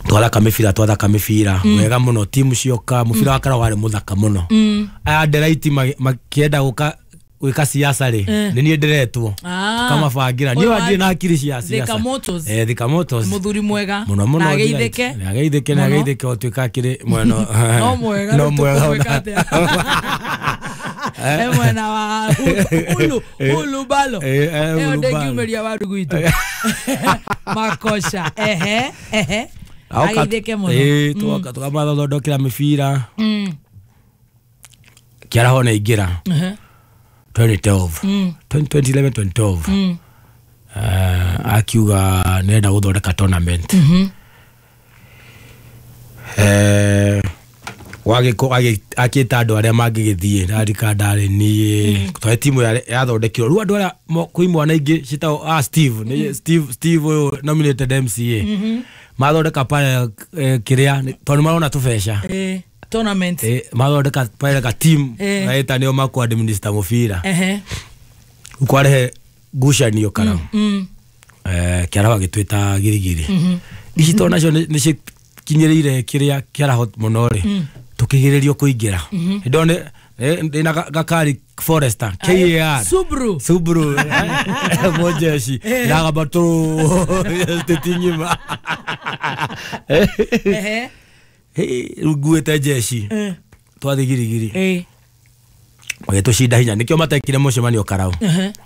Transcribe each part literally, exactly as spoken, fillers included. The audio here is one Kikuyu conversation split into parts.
Twathaka mĩbira twathaka mĩbira wega mũno, timu cioka, mũbira wa Karau warĩ mũthaka mũno. Aya nderaiti makĩenda gũka gwĩka siasa rĩ, nĩ niĩ ndĩretwo tũkamabangira, niĩ wandirĩ na akiri cia siasa. Eh, Thika Motors mũthuri mwega mũno mũno, na ageithĩke na ageithĩke na ageithĩke ũtuĩka akĩrĩ mwena no mwega no mwega e mwena wa ulu ulu balo ĩyo ndĩngiumĩria waru gwitũ makosha. Ehe ehe ageithĩke mũno. Eh, tũgoka tũkamathondekera mĩbira Kĩaraho nĩ aingĩra twenty twelve twenty eleven twenty twelve akiuga nĩarenda gũthondeka tournament. Eh, akĩta andũ arĩa mangĩgĩthiĩ ndarika ndarĩ niĩ twarĩ timu yathondekirwo rĩu andũ arĩa kwĩ imwana ingĩ ciĩtagwo ah Steve nĩ Steve Steve ũyũ nominated M C A mathondeka pale kĩrĩa tondũ marona tũbeca tournament eh mathondeka pale ka team naita nĩo makũ administer mũbira ukwarehe ngucanio Karau eh Kĩaraho agĩtwĩta girigiri ici to nacio nĩ cikinyĩrĩire kĩrĩa Kĩaraho mũno rĩ tukigiririo kuingira ndone ndina gakari Forester K A R Subaru Subaru mojeshi ndagamba tu tetinyima ehe nguĩte jeshi twathi girigiri eh magĩtũcinda hinya nĩkĩo matekire mũcemanio Karau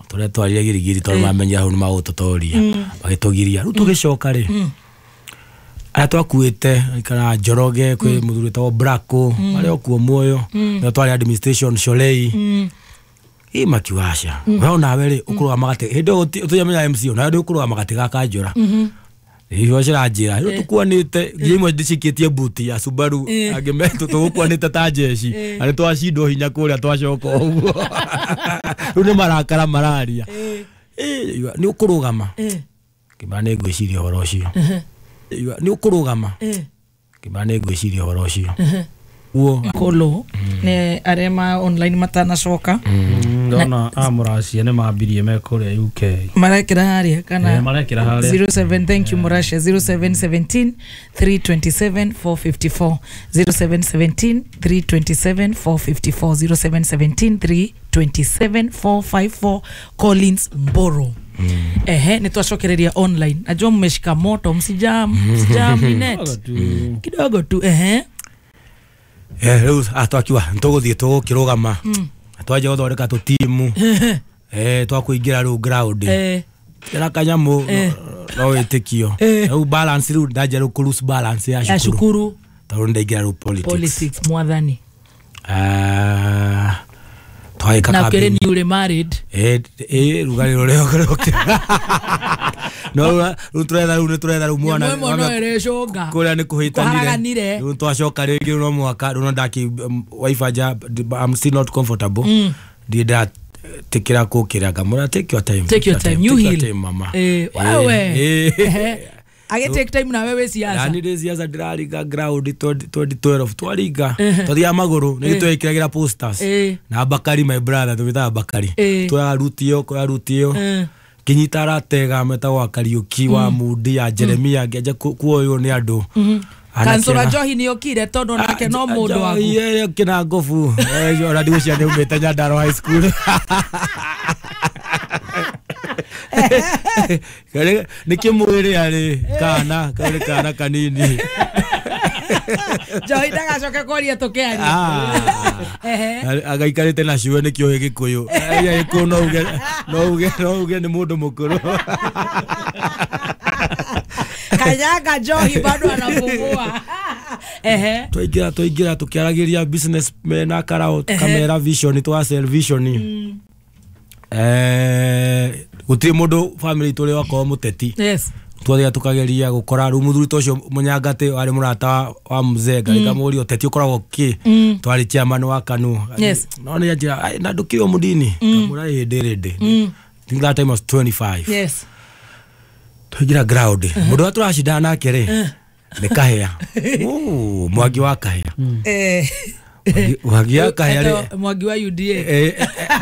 tũrĩa twarire girigiri tondũ mamenyire hau nĩ magũtũtoria magĩtũgiria rĩu tũgĩcoka rĩ arĩa twakuĩte kana Njoroge kwĩ mũthuri wĩtagwo Brako arĩa okuo muoyo nĩo twarĩ administration Sholei ĩ makiuga aca we onawe rĩ ũkũrũgama gatĩ hĩndĩ ĩyo ũtũjamenya M C onawe ndĩ ũkũrũgama gatĩ ga Kanjũra icio ciranjĩra rĩu tũkuanĩte nginya imwe ndĩcikĩtie buti ya Subaru angĩ metũ tũgũkuanĩte ta jeshi na nĩ twacindwo hinya kũrĩa twacoka ũguo rĩu nĩ marakara mararia nĩ ũkũrũgama kĩmera nĩ ngwĩciria ũhoro ũcio nĩ ũkũrũgama kĩmera nĩ ngwĩciria ũhoro ũcio Kolo nĩ arĩa ma online matanacoka ndona a Mũracia nĩ mambirie me kũrĩa U K marekĩra harĩa kana marekĩra harĩa zero seven thank you Mũracia zero seven seventeen three twenty-seven four fifty-four zero seven seventeen three twenty-seven four fifty-four zero seven seventeen three twenty-seven four fifty-four Collins Mboro. Mm. Ehe, nĩ twacokereria online. Najua mmeshika moto, msijam, msijam net. Kidogo tu ehe. Eh, rĩu atwakiwa ntũgũthiĩ tũgũkĩrũgama. Twanjia gũthondeka tũtimu. Eh, twakũingĩra rĩu ground. Eh. Kĩra kanyamũ no wĩtĩkio. Rĩu balance rĩu ndanjia rĩu kũ lose balance ya cukuru. Tondũ nĩndaingĩra rĩu politics. Politics mwathani. Ah. Na ukere ni ule married. Eh eh rugarĩ rũrĩa ũkĩrũkĩra. No rĩu tũretha rĩu nĩ tũretha rĩu mwana. Kũrĩa nĩ kũhĩtanire. Rĩu twacoka rĩngĩ no mwaka rĩu no ndaki wife anja I'm still not comfortable. Ndiĩ ndatikĩra kũkĩra ngamũra take your time. Take your time. You heal. Mama. Eh wewe. Age take time na wewe siasa. Yani ndĩ siasa ndĩraringa ground twenty twelve twaringa twathiaga magũrũ nĩ twekĩragĩra posters na Bakari my brother tũgĩtaga Bakari twoyaga ruti ĩyo koya ruti ĩyo kinyita aratega metagwo Kariuki wa Mudi ya Jeremia ngĩanjia kuoywo nĩ andũ. Kansura Njohi nĩ okire tondũ nake no mũndũ waku. Njohi kĩna ngobu ona ndigũcia nĩ umĩte Nyandarua High School. Nĩ kĩmwĩrĩ arĩ kana karĩ kana kanini. Njohi ndagacoke kwaria tũkĩaria. Agaikarĩte na ciwe nĩkĩo Gĩkũyũ. Gĩkũyũ no uge no uge no uge nĩ mũndũ mũkũrũ. Kanyaga Njohi bado anapumua. Ehe. Twaingĩra twaingĩra tũkĩaragĩria business na Karau kamera vision twa sell vision. Eh gũtirĩ mũndũ family tũrĩ wakorwo mũteti. Yes. Twathiaga tũkageria gũkora rĩu mũthuri ta ũcio Mũnyangatĩ warĩ mũrata wa mzee ngarĩkamũria ũteti ũkoragwo kĩ twarĩ chairman wa KANU. Yes. No nĩ anjĩra na ndũkĩrĩ o mũndini ngamũra ĩ ndĩ rĩndĩ. I think that time was twenty-five. Yes. Twaingĩra ground mũndũ ũrĩa tũracindana nake rĩ nĩ Kahĩa. Oh, Mwangi wa Kahĩa. Eh. Mwangi wa Kahĩa rĩ Mwangi wa U D A. Eh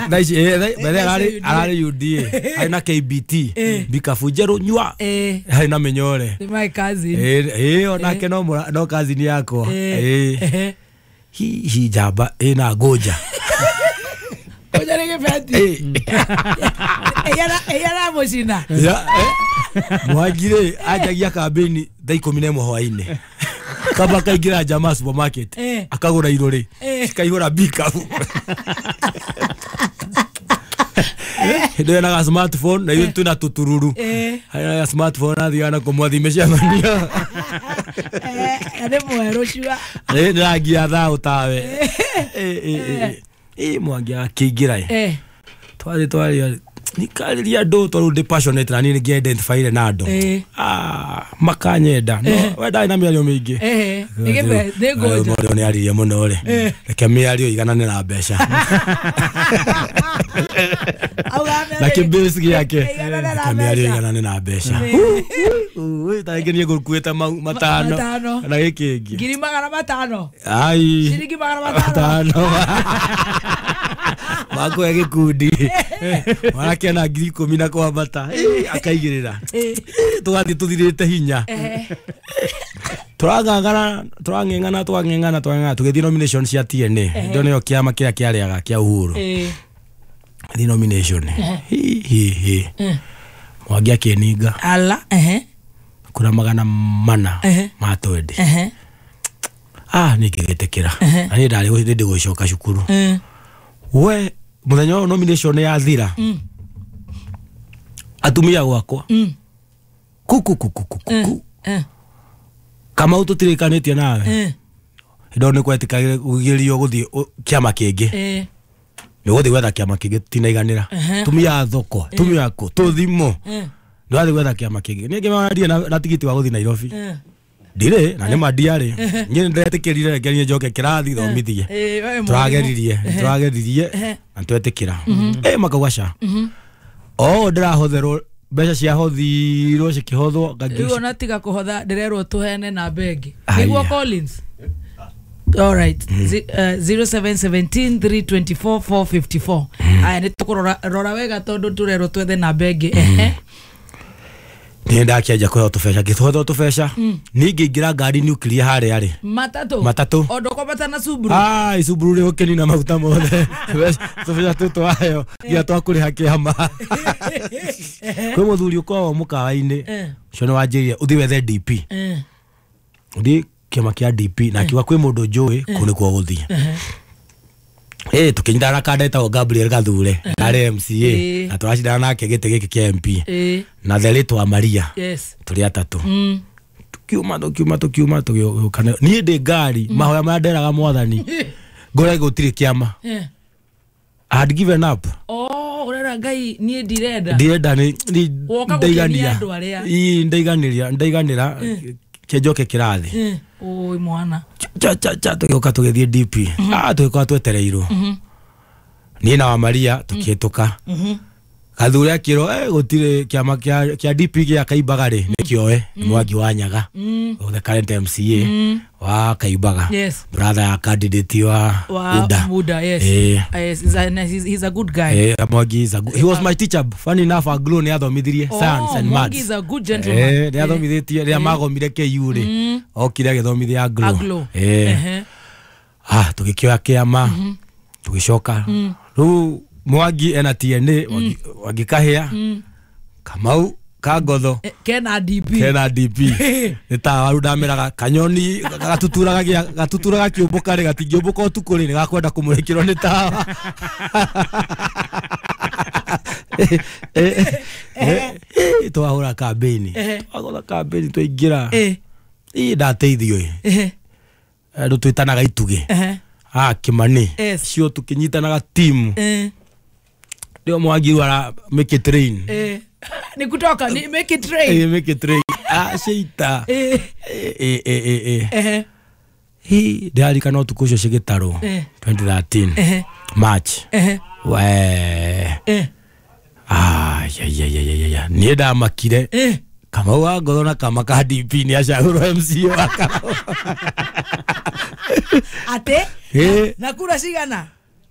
thaa ici mbere ararĩ ararĩ U D A arĩ na K B T bikabu njerũ nyua harĩ na mĩnyore. Nĩ my cousin. Eh eh onake no no cousin yakwa. Eh hihi njamba ĩna ngũnja. Ngũnja nĩ gĩbeti. Ĩyara mũcina. Mwangi rĩ anjagia kambĩini thaa ikũmi na ĩmwe hwainĩ. Kaba akaingĩra Jamaa supermarket akagũra irũrĩ cikaihũra bikabu. Hĩndĩ ĩyo na smartphone na ithuĩ twĩna tũtururu. Harĩ na smartphone athiaga na kũmwathi mĩcemanio. Nĩ mwerũ cua. Nĩ rangi ya thaũ tawe. Ĩ Mwangi akĩingĩra ĩ. Twarĩ twarĩ nikarĩria andũ tondũ ndĩ passionate na niĩ nĩ ngĩ-identify na andũ. Ah makanyenda. No we ndarĩ na mĩario mĩingĩ. Nĩ ngũnja. Mũndũ nĩ aririe mũno rĩ. Reke mĩario iganane na mbeca. Na kĩbase gĩake. Reke mĩario iganane na mbeca. Ta rĩngĩ niĩ ngũkuĩte mau matano. Na gĩkĩ kĩngĩ. Ngiri magana matano. Ai. Ciringi magana matano. Makũhe gĩkundi. Mwanake na ngiri ikũmi na kwambata akaigĩrĩra. Tũgathiĩ tũthirĩte hinya. Tũrang'ang'ana tũrang'eng'ana tũrang'eng'ana tũrang'eng'ana tũgĩthiĩ nomination cia T N A. Ndio nĩyo kĩama kĩrĩa kĩarĩaga kĩa Uhuru. Thiĩ nomination. Hi hi hi. Mwangi akĩninga. Ala ehe. Kura magana mana ma twendi. Ah nĩngĩgĩtĩkĩra. Na niĩ ndarĩ hĩndĩ gũcoka cukuru. We muthenya wa nomination yathira. Atumia gwakwa. Kuku kuku kuku. Kamau tũtirĩkanĩtie nawe. Hĩndĩ nĩ kwetĩkagĩrio gũthiĩ kĩama kĩngĩ. Nĩ gũthiĩ gwetha kĩama kĩngĩ tinaiganĩra. Tumia thoko, tumia kũ, tũthimo. Nĩ wathiĩ gwetha kĩama kĩngĩ. Niĩ ngĩmera ndirĩ na tigiti wa gũthiĩ Nairobi. Ndirĩ na nĩ ma ndiarĩ. Niĩ nĩndetĩkĩrire reke niĩ njoke kĩrathi thomithie. Tũrageririe, tũrageririe na twetĩkĩra. Eh makauga ca. O ndĩrahotherwo mbeca ciahothirwo cikĩhothwo. Rĩu ona tiga kũhotha ndĩrerwo tũheane namba ĩngĩ. Nĩguo Collins. All right. zero seven one seven three two four four five four. Aya nĩ tũkũrora rora wega tondũ tũrerwo twethe namba ĩngĩ. Ehe. Niĩ ndakĩanjia kũheo tũbeca ngĩtũheo tũbeca niĩ ngĩingĩra ngari nuclear harĩa rĩ matatũ matatũ o ndũkwambata na Subaru. Ah Subaru rĩ ũkĩnina maguta mothe tũbeca tũtũ twaheo nginya twakũrĩha kĩama. Kwĩ mũthuri ũkoragwo mũkawa-inĩ ũcio nĩ wanjĩrire ũthiĩ wethe D P. Ũthiĩ kĩama kĩa D P na akiuga kwĩ mũndũ njũĩ kũu nĩkuo gũthiĩ. Eh tukinyitana na kanda etagwo Gabriel Gathure arĩ M C A na tũracindana nake gĩtĩ gĩkĩ kĩa M P na the late wa Maria. Yes. Tũrĩ atatũ. Tukiuma tukiuma tukiuma tũgĩũka. Niĩ ndĩ ngari mahoya marĩa nderaga mwathani ngore gũtirĩ kĩama. I had given up. Oh ũrera Ngai niĩ ndirenda. Ndirenda nĩ ndaiganĩra. Ii ndaiganĩra ndaiganĩra kĩnjoke kĩrathi. Oi mwana. Cha cha cha tũgĩũka tũgĩthiĩ D P. Ah tũgĩkorwo twetereirwo. Niĩ na wa Maria tũkĩhĩtũka. Gathure akĩrwo eh gũtirĩ kĩama kĩa kĩa D P gĩa Kaimbaga rĩ nĩkĩoe nĩ Mwangi wa Nyaga. The current M C A wa Kaimbaga. Yes. Brother ya candidate wa Uda. Uda, yes. Eh. Yes, he's a, he's, he's a good guy. Eh Mwangi is a good, he was my teacher. Funny enough Aglo nĩ athomithirie science and maths. Mwangi is a good gentleman. Eh nĩ athomithĩtie rĩrĩa magomire K U rĩ. Okire agĩthomithia Aglo. Aglo. Eh. Ah tũgĩkĩoya kĩama tũgĩcoka. Rĩu Mwangi ena T N A Mwangi Kahĩa Kamau Kangotho kena D P kena D P nĩ ta waru ndameraga kanyoni gatuturaga gatuturaga kĩũmbũka rĩ gatingĩũmbũka ũtukũ rĩ nĩgakwenda kũmũrĩkĩrwo nĩ tawa. Twahũra kambĩini twahũra kambĩini twaingĩra ĩ ndateithio ĩ andũ twĩtanaga itugĩ. Ah Kimani cio tukinyitanaga timu ndio Mwangi ara make it rain. Eh ni kutoka ni make it rain. Eh make it rain. Ah sheita. Eh eh eh eh eh hi ndirarikana ũtukũ ũcio cigĩtarwo twenty thirteen March. Eh we eh ah ya ya ya ya ya niĩ ndamakire. Eh Kamau wa Ngotho na kama ka D P nĩ acagũrwo M C A wa Kamau. Ate Eh. na kura cigana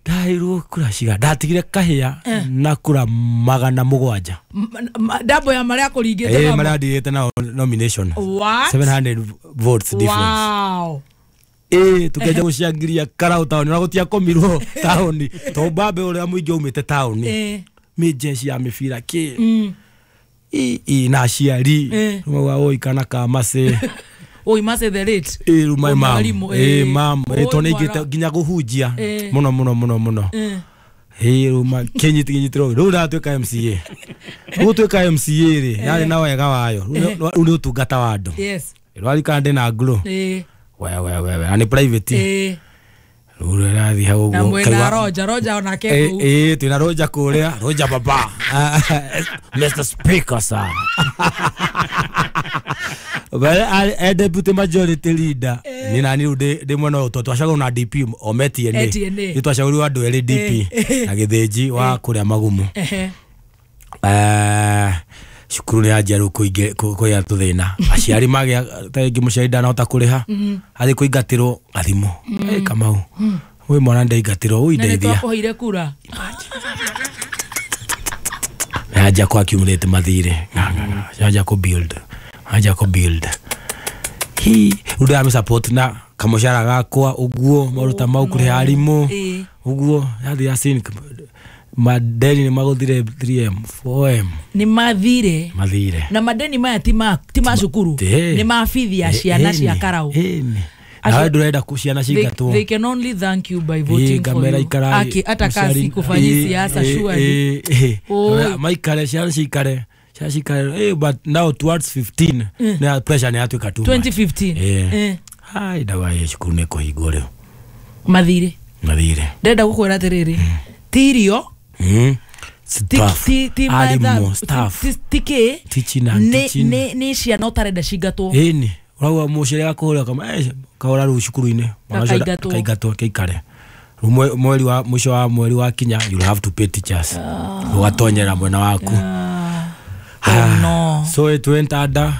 Ndaheirwo kura cigana ndatigire kahĩa na kura magana mũgwanja. M- m- ndambo ya maria kũringĩte Eh namo. maria ndigĩte nao nomination. What? seven hundred votes difference. Wow. Ĩ tukenja gũcangiria Karau taũni ona gũtiakomirwo taũni to mbambe ũrĩa mũingĩ aumĩte taũni Eh. mĩjeshi ya mĩbira kĩ I- i na aciari Eh. mauga oi kana ka macĩ Oi mase the late. ĩ rĩu my Oi, mom mwarimũ, ĩ eh. mam ĩ Oi, tondũ nĩingĩte mwana. nginya kũhunjia Eh. mũno mũno mũno mũno Eh. ĩ rĩu ma kĩnyiti kĩnyitĩrwo rĩu ndatuĩka M C A rĩu gũtuĩka M C A rĩ yarĩ na wega wayo rĩu nĩ- rĩu nĩ ũtungata wa andũ Yes. rwarikana ndĩ na ngro Eh. we we we we na nĩ private Eh. rĩu rĩrathiĩ hau Na ũguo mwena kaigua- Roja, Roja onake Eh, kũu. eh, twĩna Roja kũrĩa Roja baba Mister Speaker sir But I, deputy majority leader ni nani rĩu ndĩ ndĩ mwena ũyũ tondũ twacagũrwo na D P o me T N A Eh, T N A. nĩ twacagũrirwo andũ erĩ D P na Gĩthĩnji wa kũrĩa Magumu Ehe. Eh, cukuru nĩ yanjia rĩu kũingĩ- kũ- kũgĩa tũthĩna aciari magĩa ta rĩngĩ mũciari ndanahota kũrĩha athiĩ kũingatĩrwo gathimũ Eh, Kamau wĩ mwana ndaingatĩrwo Na nĩ ũindeithia twakũheire kura. yanjia kũ accumulate mathirĩ Nga, nga, nga. Yanjia kũ build yanjia kũ build hi rĩu ndĩramĩ support na kamũcara gakwa ũguo maũndũ ta mau kũrĩha arimũ Ĩ. ũguo yathiĩ ya sink madeni nĩ magũthire three M four M Nĩ mathire. mathire Na madeni maya ti ma ti ma cukuru. Ĩ. Nĩ ma bithi ya ciana cia Karau. Ĩni. Acio- Nawe ndũrenda kũ- ciana They, cingatwo they can only thank you by voting for ngamera you. ikarai Aki hata kasi kufanyi siasa surely. Oi. maikare ciana cikare ciana cikare Eh, but now towards fifteen nĩ pressure nĩ yatuĩka too much. twenty fifteen. Eh. Eh. Hai ndawa ya cukuru nĩ kũhingwo rĩu Mathire. mathire Ndĩrenda gũkwĩra atĩrĩrĩ. Ti irio Mm. ti Staff. ti ti Arimũ, matha- staff. ti- ti kĩ Teaching and nĩ teaching. nĩ nĩ ciana ũtarenda cingatwo. Ĩni ũrauga mũciari akũhũrĩra kama eh, kahũra rĩu cukuru-inĩ Mwana ũcio Gakaingatwo. kaingatwo keikare Rĩu mwe- mweri wa mũico wa mweri wa kinya you'll have to pay teachers ũgatonyera mwena waku Oh no. So it went under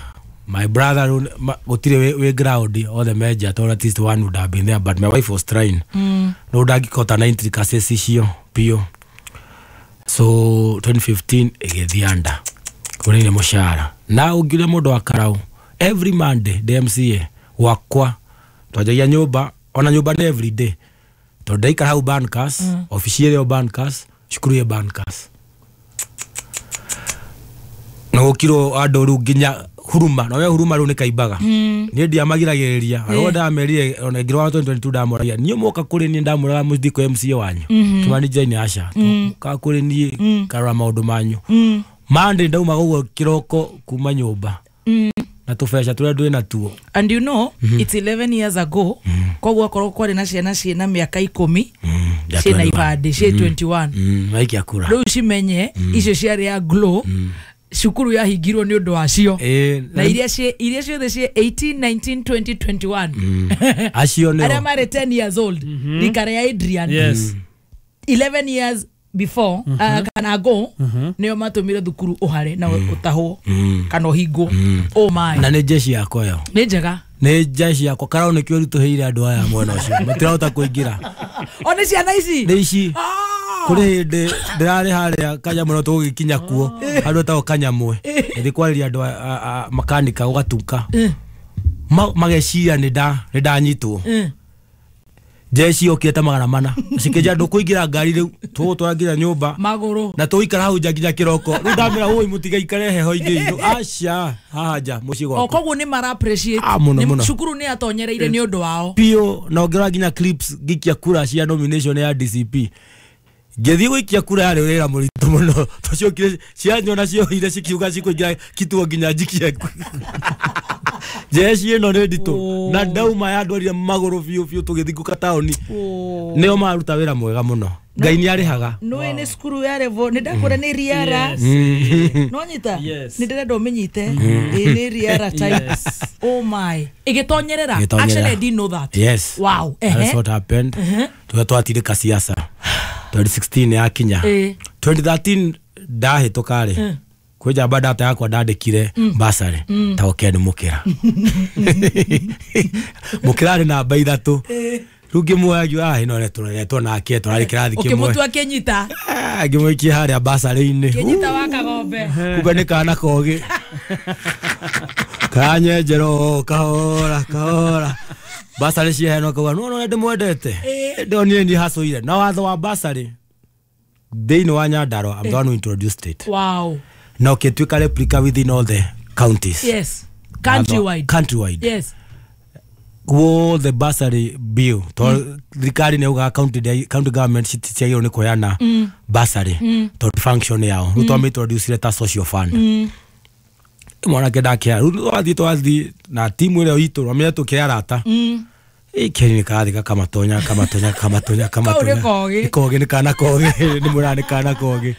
my brother rĩu ma- gũtirĩ wĩ- wĩ ground othe menja tondũ at least one would have been there but my wife was trying Mm. no ndangĩkota na intricacies icio biũ so twenty fifteen ĩgĩthiĩ under kũrĩ nĩ mũcara na ũngiuria mũndũ wa Karau every Monday ndĩ M C A gwakwa twanjagia nyũmba ona nyũmba nĩ every day tondũ ndaikara hau Bankers obici ĩrĩ o Bankers cukuru ĩ Bankers na gũkirwo andũ rĩu nginya huruma na we huruma rĩu nĩ kaimbaga niĩ ndiamagiragĩrĩria arĩa ndamerire ona ngĩrwara twenty twenty-two ndamoragia niĩ mwoka kũrĩ niĩ ndamwĩraga mũthiĩ kwĩ M C A wanyu Kimani Jane aca ka kũrĩ niĩ karora maũndũ manyu Monday ndaumaga ũguo kĩroko kuma nyũmba na tũbeca tũrĩa ndwĩ natuo And you know it's eleven years ago koguo akorwo kwarĩ na ciana ciĩna mĩaka ikũmi ciĩna ibandĩ ciĩ twenty-one maikia kura rĩu cimenye icio ciarĩ ya glow cukuru yahingirwo nĩ ũndũ wacio Ĩ, na iria ciĩ iria ciothe ciĩ eighteen nineteen twenty twenty-one acio arĩa nĩo marĩ ten years old rika rĩa Adrian Yes. eleven years before uh, kana ago nĩo matũmire thukuru ũhare na ũtahwo kana ũhingwo oh my na nĩ jeshi yakwa ĩyo nĩ njega nĩ jeshi yakwa Karau nĩkĩo ritũhĩire andũ aya mwena ũcio matirahota kũingĩra o nĩ ciana ici nĩ ici Ah! kũrĩ hĩndĩ ndĩrarĩ harĩa kanyamũ no tũgũgĩkinya kuo handũ etagwo kanyamwe ngĩthiĩ kwarĩria andũ a- a- a- makanika gũgatuka Ma- mageciria nĩ nda- nĩ ndanyitwo Mm. jeshi yokire ta magana mana cikĩnjĩra ndũkũingĩra ngari rĩu tũgũtwara nginya nyũmba magũrũ na tũgũikara hau nja nginya kĩroko rĩu ndamĩra ũi mũtigaikare heho-inĩ itũ aca haha nja mũciĩ o gwakwa koguo nĩ mara appreciate Ah, mũno, Nĩ- mũno. cukuru nĩ atonyereire nĩ ũndũ wao biũ na ũngĩrora nginya clips ngĩikia kura cia nomination ya D C P ngĩthiĩ gũikia kura yarĩ wĩra mũritũ mũno tũciokire cianyona cioire cikiuga cikũingĩra kituo nginya njikie jeshi ĩno nĩ nditũ na ndauma yandwarire magũrũ biũ biũ tũgĩthingũka taũni nĩo maruta wĩra mwega mũno Ngai nĩ arĩhaga nĩ nĩ cukuru ya revo nĩ ndakwĩra nĩ riara no nyita Yes. nĩ ndĩrenda ũmĩnyite Ĩ, nĩ riara type Yes. oh my ĩgĩtonyerera Ĩgĩtonyerera. actually I didn't know that Yes. wow That's ehe what happened. Tuga twatirĩka siasa twenty sixteen yakinya Ĩ. twenty thirteen ndahĩtũka rĩ Kwĩ njamba data yakwa ndandĩkire basarĩ ta Ken Mũkĩra. Mũkĩra arĩ namba ithatũ. Rĩu ngĩmuoya ngiuga ah ĩno tũreretwo nake tũrarĩ kĩrathi kĩmwe. Ũkĩmũtua kĩnyita. Ngĩmũikia harĩa basarĩ-inĩ. Kĩnyita wa Kagombe. Kumbe nĩ kana kogĩ. Kanyenjero kahora kahora. Basarĩ ciaheanwo akauga no no ndĩmwendete. Ndonire niĩ hacũire. Na watho wa basarĩ thĩinĩ wa Nyandarua, I'm the one who introduced it. Wow. Na ũkĩtuĩka replica within all the counties. Yes. Countrywide. Countrywide. Yes. Guothe bursary bill tondũ thirikari nĩ yaugaga county county government citiagĩrĩirwo nĩ kũheana bursary tondũ function yao. Rĩu twamĩintroducire ta social fund. Mwanake ndakĩhea. Rĩu twathiĩ twathiĩ na timu ĩrĩa itũ twamenya tũkĩrĩ arata. Keni nĩ karathiĩ gakamatonya kamatonya kamatonya kamatonya. Kau nĩ kogĩ. Nĩ kogĩ nĩ kana kogĩ nĩ mwĩraga nĩ kana kogĩ.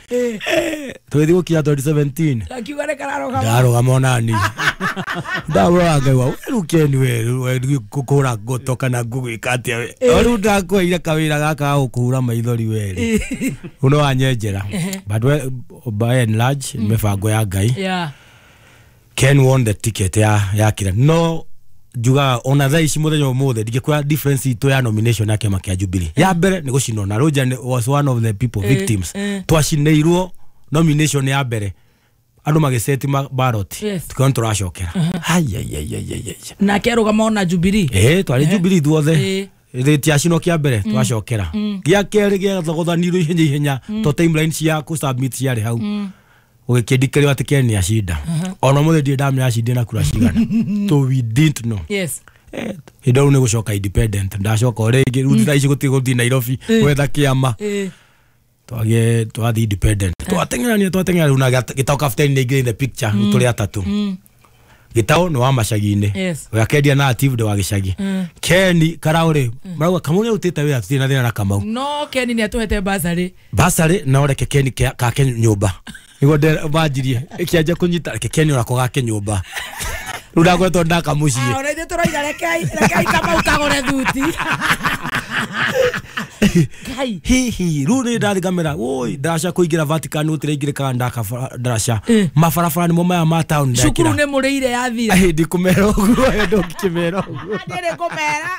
Tũgĩthiĩ gũkinya twenty seventeen. Akiuga nĩ kararũgama. Ndarũgama onani. Ndarora ngaigua we rĩu Ken we rĩu kũhũra ngoto kana ngũgwĩka atĩa we. Rĩu ndakweire kawĩra gaka ga gũkũhura maithori we rĩ. Rĩu no wanyenjera. But by and large mĩbango ya Ngai. Yeah. Ken won the ticket ya ya kira. No njugaga ona thaa ici muthenya umuthi ndingĩkwĩra difference itũ ya nomination ya kĩama kĩa Jubilee. Ya mbere nĩ gũcinwo na Roger was one of the people victims. Twacinĩirwo nomination ya mbere andũ magĩceti ballot tukiona tũracokera. Haiaiaiaiai. Nake arũgama ona Jubilee. Eh twarĩ Jubilee ithuothe. Rĩtiacinwo kĩa mbere twacokera. Gĩa kerĩ gĩathogothanirwo ihenya ihenya to timeline cia kũ submit ciarĩ hau. Ũgĩkĩndikĩrĩo atĩ Ken nĩacinda. Ona ũmũthĩ ndirĩ ndamenya acindire na kura cigana. So we didn't know. Yes. Hĩndĩ ĩyo nĩ gũcoka independent. Ndacoka o rĩngĩ rĩu thaa ici gũtirĩ gũthiĩ Nairobi gwetha kĩama. Twagĩe twathiĩ independent. Twateng'erania twateng'era rĩu na Gĩtaũ Captain nĩ aingĩra in the picture rĩu tũrĩ atatũ. Gĩtaũ nĩ wa macagi-inĩ. We akendia narrative ndĩ wa gĩcagi. Ken Karau rĩ marauga Kamau nĩarutĩte wĩra tũtirĩ na thĩna na Kamau. No Ken nĩatũhete basarĩ. Basarĩ no reke Ken kake nyũmba. Nĩguo banjirie ĩkĩanjia kũnyita reke Ken onako gake nyũmba. Rĩu ndakoretwo ndaka mũciĩ. Ah ona ithuĩ tũroiga rekei rekei Kamau kagũre thuti. Ngai. Hihi rĩu nĩ ndathiĩ ngamera woi ndaraca kũingĩra Vatican gũtirĩ ingĩrĩkaga ndaka ndaraca. Mabarabara nĩmo maya ma town ndekĩra. Cukuru nĩ mũrĩire yathira. Ndikũmera ũguo ndũngĩkĩmera ũguo. Ndĩrĩ kũmera.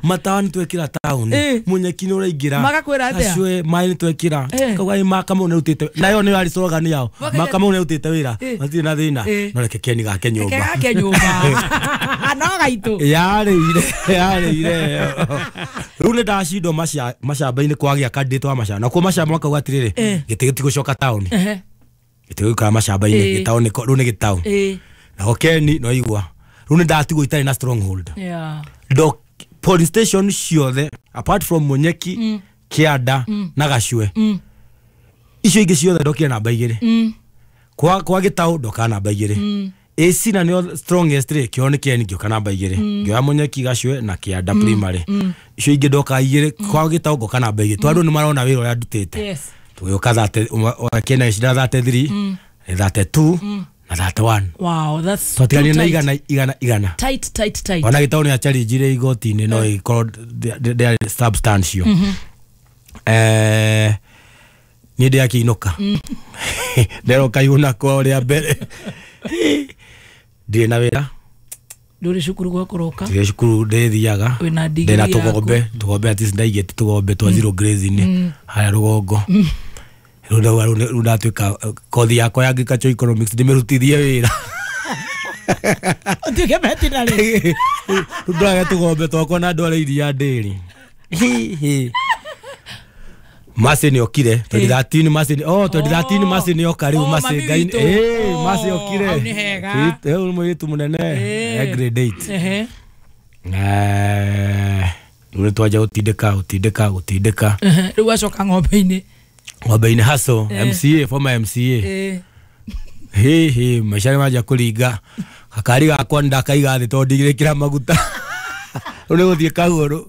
Matawa twekĩra town munyeki nĩ ũraingĩra. Magakwĩra atĩa? Acwe maĩ nĩ twekĩra. Kauga ĩ ma Kamau nĩarutĩte nayo nĩyo yarĩ slogan yao. Ma Kamau nĩarutĩte wĩra matirĩ na thĩna. No reke Ken gake nyũmba. Reke gake nyũmba. No gaitũ. Yarĩire yarĩire. Rĩu nĩ ndacindwo macamba-inĩ kwagĩa candidate wa macamba. Nakuo macamba makauga atĩrĩrĩ gĩtĩ gĩtigũcoka taũni. Gĩtĩ gĩgũikara macamba-inĩ gĩtaũ nĩ rĩu nĩ gĩtaũ. Nako Ken no igua. Rĩu nĩ ndatigwo itarĩ na stronghold. Yeah. Ndo police station ciothe apart from Munyeki, Kĩanda na Gacwe. Icio ingĩ ciothe ndokire namba igĩrĩ. Kwa kwa gĩtaũ ndoka namba igĩrĩ. A C na nĩo strongest rĩ kĩo nĩ Ken ngĩũka namba igĩrĩ. Ngĩoya Munyeki, Gacwe na Kĩanda primary. Icio ingĩ ndoka igĩrĩ kwa gĩtaũ ngoka namba igĩrĩ. Tondũ andũ nĩ marona wĩra ũrĩa ndutĩte. Yes. Tũgĩũka thate Ken agĩcinda thirty three, thirty two na thirty one. Wow, that's twatiganire na igana igana igana. Tight tight tight. Ona gĩtaũ nĩ achallengire igoti-inĩ no ĩkorwo ndĩarĩ substantial. Eh niĩ ndĩakĩinũka. Nderoka iguna kwa ũrĩa mbere. Ndirĩ na wĩra. Ndũrĩ cukuru gwa kũroka. Ndirĩ cukuru ndĩthiaga. Wĩna degree Ndĩna tũgombe, tũgombe at least ndaigĩte tũgombe twa zero grazing harĩa rũgongo. Rĩu ndauga rĩu ndatuĩka kothi yakwa ya agriculture economics ndĩmĩrutithie wĩra. Ũtuĩke veterinary. Rĩu ndage tũgombe twakwa na ndware iria ndĩrĩ. Masi nĩ okire twenty thirteen Masi oh twenty thirteen Masi nĩ oka rĩu Masi Ngai eh Masi okire. Hau nĩ hega. Rĩu mũirĩtu mũnene e grade eight. Ehe. Eh rĩu twanja gũtindĩka gũtindĩka gũtindĩka. Rĩu wacoka ng'ombe-inĩ. Ng'ombe-inĩ hustle M C A former M C A. Eh. Hi hi maica nĩ manjia kũringa. Gakari gakwa ndakaiga thĩ tondũ ndigĩrĩkĩra maguta. Rĩu nĩ gũthiĩ kagũrũ.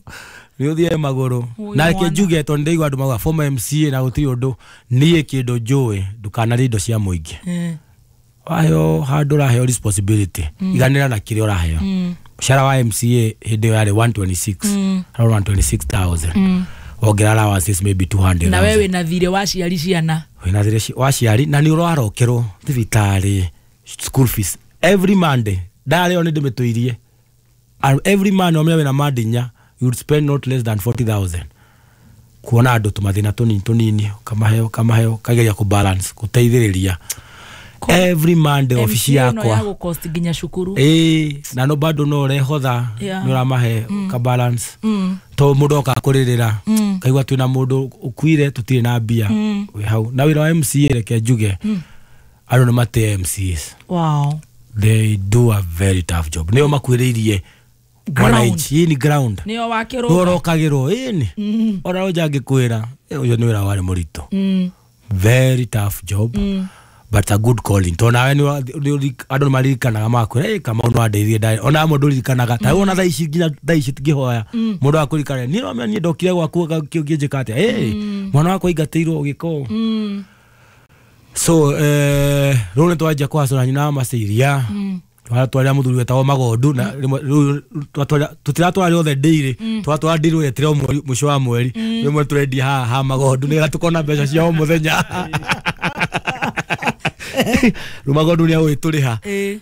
Nĩ ũthiĩ magũrũ. Na reke njuge tondũ nĩndaigua andũ mauga former M C A na gũtirĩ ũndũ niĩ kĩndũ njũĩ ndũkanarĩe indo cia mũingĩ. Waheo handũ ũraheo responsibility iganĩra na kĩrĩa ũraheo. Mũcara wa M C A hĩndĩ ĩyo yarĩ one twenty six around one twenty six thousand. Wongerera allowances maybe two hundred. Na wewe na thire wa ciari ciana. Wĩna thirĩ wa ciari na nĩ ũrarokerwo thibitarĩ, school fees every Monday. Ndarĩo nĩ ndĩmĩtũirie. And every Monday omenya wĩna Monday inya, you would spend not less than forty thousand. Kuona andũ tũmathĩna tũnini tũnini, ũkamahe ũkamahe ũkageria kũ balance, gũteithĩrĩria. Every Monday ofici yakwa. Ya gũcost nginya cukuru. Ĩĩ, na no bado no ũrehotha, nĩ ũramahe ka balance. To mũndũ oka kũrĩrĩra, kaigua twĩna mũndũ ũkuire tũtirĩ na mbia. Wĩ hau. Na wĩra wa M C A reke njuge, andũ nĩ matĩe M C As. Wow. They do a very tough job. Nĩo makuĩrĩirie mwananchi, ni ground. Nĩo wakĩrwo. Nĩo ũrokagĩrwo, ĩni. Ona ũnja angĩkwĩra, ũcio nĩ wĩra warĩ mũritũ. Very tough job. But a good calling. To nawe ni andũ nĩ maririkanaga makwĩra, ĩ Kamau no andeithie ndarĩ. Ona amwe ndũririkanaga. Ta wona thaa ici nginya thaa ici ngĩhoya. Mũndũ akũririkana, niĩ no niĩ ndokire gwaku ũkĩnjĩka atĩa? Ĩ, mwana wakwa aingatĩirwo ũgĩka ũũ. So, eh, rĩu nĩ twanjia kũhacũra nyina wa Maciria. Twatwarĩra mũthuri wetagwo Magondu na rĩu tũtiratwara rĩothe ndĩirĩ, twatwara ndĩrĩ yetire o mweri, mũico wa mweri. Rĩmwe tũrendia haha ha Magondu nĩgetha tũkona mbeca cia o mũthenya. Rĩu Magondu nĩ agũgĩtũrĩha. Eh,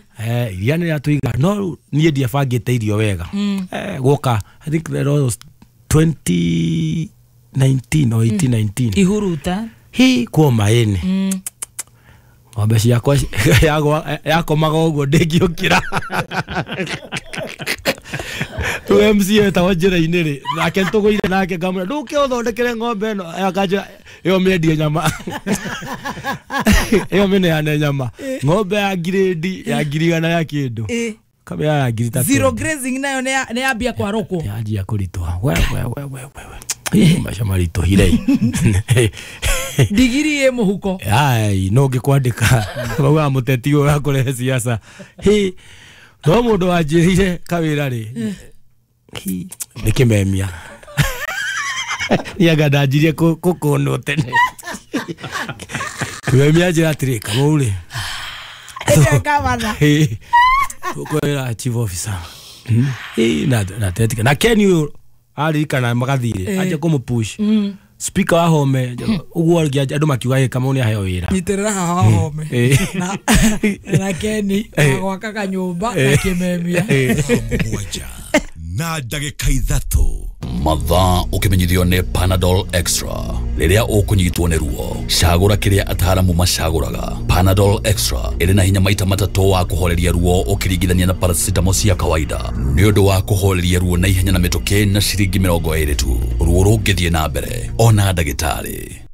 iria nĩ rĩatũiga, no niĩ ndiabangĩte irio wega. Eh, gwoka, I think that was twenty nineteen or eighteen nineteen. Ihuruta. Hi, kuoma ĩnĩ. Ng'ombe ciakwa yakomaga ũguo ndĩngĩũkĩra. Rĩu M C A etagwo njĩra-inĩ rĩ, nake nĩtũgũire nake ngamwĩra, ndũke ũthondekere ng'ombe ĩno, akanjĩra, ĩyo mĩendie nyama. Ĩyo mĩneane nyama. Ng'ombe ya ngirĩndi, ya ngiri igana rĩa kĩndũ. Kamĩra ya ngiri ithatũ. Zero grazing nayo nĩ yambia kwarũkwo. Yanjia kũritũha. We, we, we, we, we. Maica maritũhire. Ndigiri ĩ mũhuko. Ai, no ngĩkwandĩka. Maugaga mũteti ũyũ ũrakũrehe siasa. Hi, no mũndũ wanjĩrĩire kawĩra rĩ, hi, nĩ kĩmemia. Niĩ anga ndanjirie kũkũnwo tene. Kĩmemia anjĩra atĩrĩ, Kamau rĩ. Tũkwĩra chief officer. Hi, na na tetika. Na Ken ũyũ aririkana magathire, anjia kũmũpush. Speaker wa Home, ũguo andũ makiuga ĩ Kamau nĩ aheo wĩra. Nyitĩrĩra haha wa Home. Na na Keni agwaka kanyũmba na kĩmemia. Mũgwanja na ndagĩka ithatũ. Mathaa ũkĩmenyithio nĩ Panadol Extra. Rĩrĩa ũkũnyitwo nĩ ruo, cagũra kĩrĩa ataaramu macagũraga. Panadol Extra ĩrĩ na hinya maita matatũ wa kũhoreria ruo ũkĩringithania na paracetamol cia kawaida. Nĩ ũndũ wa kũhoreria ruo na ihenya na mĩtũkĩ na ciringi mĩrongo ĩrĩ tu. Ruo rũngĩthiĩ na mbere, ona ndagĩtarĩ.